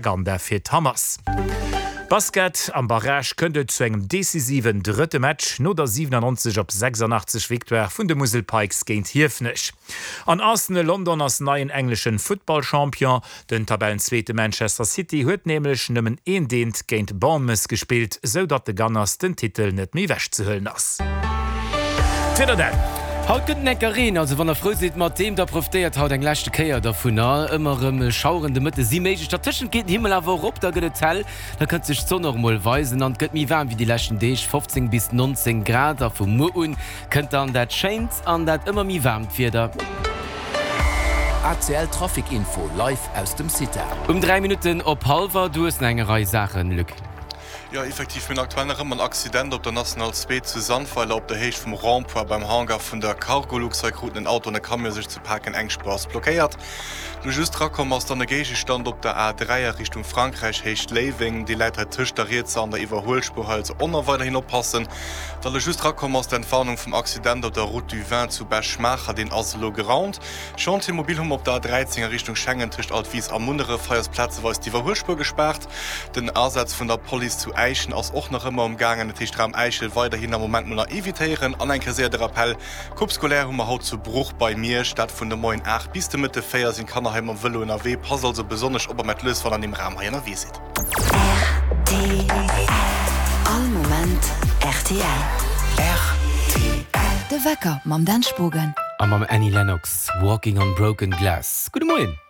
Propaganda fir d'Hamas. Basket, Am Barrage kënnt et zu engem decisiven drëtte Match no der 97 op 86 Victoire vun de Musel Pikes géint Hiefenech. An Arsenal London ass neien engleschen Futtballchampion. Den Tabellenzweete Manchester City huet nämlech nëmmen een Deent géint Bournemouth gespillt, sou datt de Gunners den Titel net méi ewechzehuelen ass. D'Wieder dann. Haut gëtt en enker Reen, also wann der frou sidd mat deem, da profitéiert haut eng leschte Kéier dervunner. Ëmmer erëm Schaueren de Mëtte si méiglech, dertëschent geet den Himmel awer och op, da gëtt et hell, da kënnt sech d'Sonn och emol weisen an et gëtt méi waarm wéi déi leschten Deeg, 15 bis 19 Grad. A vu muer un Kënnt dann dat schéint an dat ëmmer méi waarmt Wieder. ACL Trafic Info live aus dem CITA. Um 3 Minutten op hallwer, du hues nach eng Rei Saachen, Luc. Jo, effektiv, mir hunn aktuell nach ëmmer en Accident op der National 2 zu Sandweiler op der Héicht vum Rond-point beim Hangar vun der Cargolux. Hei kruten en Auto an e Camion sech ze paken, eng Spuer ass blockéiert. Lo just rakomm ass dann e Géigestand op der A3 a Richtung Frankräich, Héicht Léiweng. Dee läit hei tëscht der rietser an der Iwwerhuelspuer. Hei also och nach weiderhin oppassen. Wa lo just rakomm ass d'Entwarnung vum Accident op der Route du Vin zu Bech-Maacher, deen ass elo geraumt. Chantier mobile hu mer op der A13 a Richtung Schengen tëscht Altwis a Munneref. Hei ass plazeweis d'Iwwerhuelspuer gespaart. Den Asaz vun der Police zu Äischen ass och nach ëmmer um gaangen. Dat heescht Raum Äischel weiderhin am Moment mol nach evitéieren. An eng Kéier séier de Rappell, Coupe scolaire hu mer haut zu Bruch bei Miersch, dat vun de Moien 8 bis de Mëtte 4 sinn d'Kanner hei mam Vëlo ënnerwee. Passt also besonnesch op a met lues wann an deem Raum hei ënnerwee sidd. Rtl. All Moment rtl. Rtl. De Wecker mam Dan Spogen. A mam Annie Lennox, Walking on Broken Glass. Gudde Moien.